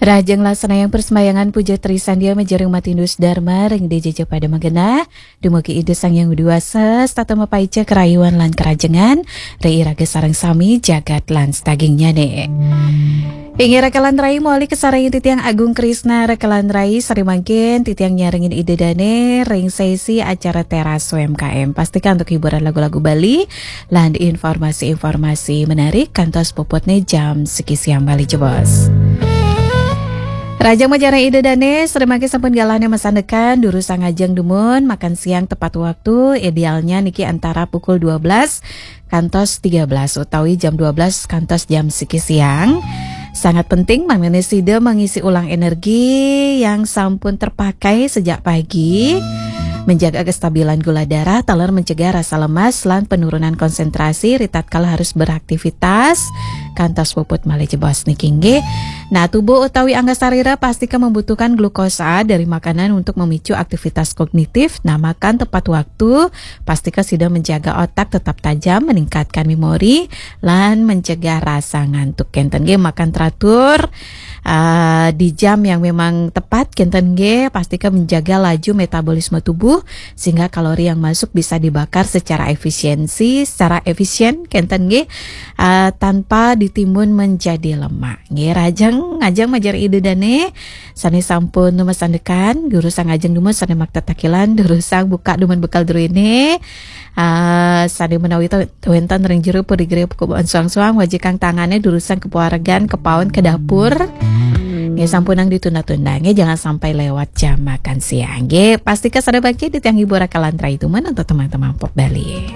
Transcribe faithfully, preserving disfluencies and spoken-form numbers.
Rahajeng laksana yang persembahyangan puja trisandia majareng matindus Dharma ring D J J pada magenah. Dumugi Ida Sang Hyang Widhi Wasa, setata mapaica karayuan lan karajengan, ri iraga sareng sami jagat lan sadagingnyane. Inggih raka lan rai, mawali kasarengin titiang Agung Krisna, raka lan rai, sari mangkin titiang nyarengin Ida Dane ring sesi acara Teras U M K M. Pastika antuk hiburan lagu-lagu Bali lan informasi-informasi menarik kantos puputne jam siki siang Bali jebos. Rahajeng majareng Ida Dane, sari mangkin sampun galahne masandekan, durusang ajeng dumun, makan siang tepat waktu, idealnya niki antara pukul dua belas kantos tiga belas utawi jam dua belas kantos jam siki siang. Sangat penting mangdane sida mengisi ulang energi yang sampun terpakai sejak pagi, menjaga kestabilan gula darah, taler mencegah rasa lemas lan penurunan konsentrasi ritatkala harus beraktivitas, kantos puput malih jebos niki nggih. Nah, tubuh utawi angga sarira pastika membutuhkan glukosa dari makanan untuk memicu aktivitas kognitif. Nah, makan tepat waktu, pastika sida menjaga otak tetap tajam, meningkatkan memori, lan mencegah rasa ngantuk. Kenten nggih, makan teratur, eh, di jam yang memang tepat, kenten nggih, pastika menjaga laju metabolisme tubuh sehingga kalori yang masuk bisa dibakar secara efisiensi, secara efisien, kenten nggih, eh, tanpa ditimbun menjadi lemak. Nggih, rahajeng, rahajeng majareng Ida Dane, sane sampun masandekan, durusang ajeng dumun sane makta takilan, durusang buka dumun bekal druene. Ah, sane menawi to-, wenten ring jero puri gere pekubuan suang-suang, wajikang tangane, durusang kepuaregan, kepaun, ke dapur. Nggih, sampunang ditunda-tunda, nggih, jangan sampai lewat jam makan siang. Nggih, pastika sare bangkit di tiang hibur raka lan rai dumun untuk teman-teman pop Bali.